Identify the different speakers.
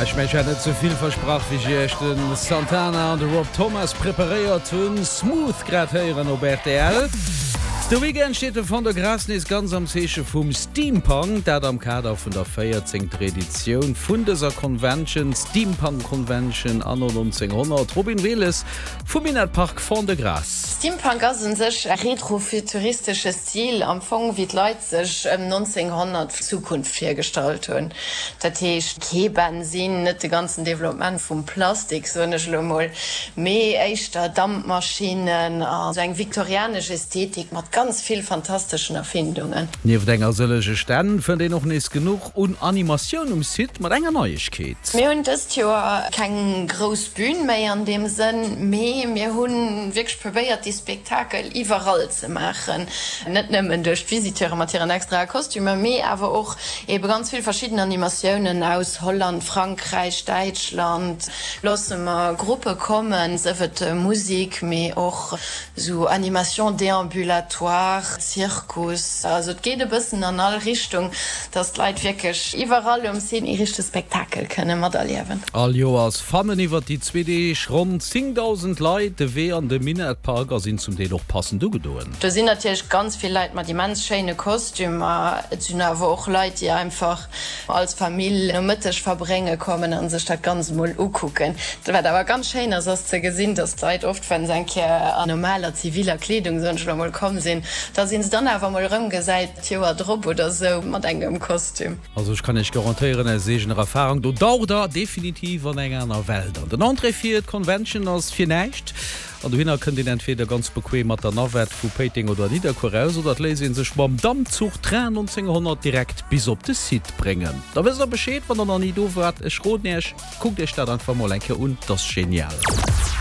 Speaker 1: Ech mengen, ech hat net ze vill versprach, wéi ech iech de Santana an de Rob Thomas preparéiert hunn. Smooth grad héieren op rtl. De Weekend steet de Fond-de-Gras nees ganz am Zeeche vum Steampunk, dat am Kader vun der 14. Editioun vun dëser Convention, Steampunk Convention anno 1900. Robin Wehles vum Minett-Park Fond-de-Gras.
Speaker 2: Steampunk ass un sech e retrofuturistesche Stil, am Fong wéi d'Leit sech ëm 1900 d'Zukunft virgestallt hunn. Dat heescht kee Bensin, net de ganzen Developpement vum Plastik, soen ech elo mol, mee éischter Dampmaschinnen a sou eng viktorianesch Ästhetik mat ganz vill fantasteschen Erfindungen.
Speaker 1: Nieft enger sëllege Stänn fënnt een och nees genuch un Animatioun um Site mat enger Neiegkeet.
Speaker 2: Mir hunn dëst Joer keng grouss Bühn méi an deem Sënn, mee mir hu wierklech probéiert dee Spektakel iwwerall ze maachen, net nëmmen duerch d'Visiteure mat hiren extrae Kostümer, mee awer och ebe ganz vill verschidden Animatiounen aus Holland, Frankräich, Däitschland. Loosse mer Gruppe kommen, sëf et Musik, mee och sou Animation déambulatoire, Zirkus, also et geet e bëssen an all Richtung, dass d'Leit wierklech iwwerall um Site ee richtege Spektakel kënne materliewen.
Speaker 1: All Joers fannen iwwer déi zwee Deeg ronn 10.000 Leit de Wee an de Minett-Park a sinn zum Deel och passend ugedoen.
Speaker 2: Do sinn natierlech ganz vill Leit mat immens schéine Kostümer. Et sinn awer och Leit, déi einfach als Famill Nomëtteg verbrénge kommen a sech dat Ganzt emol ukucken. Wat awer ganz schéin ass, ass ze gesinn, dass d'Leit oft, wa se eng Kéier an normaler ziviler Kleedung, soen ech elo emol, komm sinn, dass ee se dann awer emol erëmgesäit d'Joer drop oder sou mat engem Kostüm.
Speaker 1: Also ech kann iech garantéieren aus eegener Erfahrung, do daucht der definitiv an eng aner Welt an. Den Entrée fir d'Convention ass fir näischt an dohinner kënnt een entweder ganz bequem mat der Navette vu Péiteng oder Nidderkuer aus oder et léisst een sech mam Dampzuch Train 1900 direkt bis op de Site bréngen. Da wësst der Bescheed wann der nach ni do waart. Ech roden iech, kuckt iech dat einfach mol eng Kéier un, 't ass genial.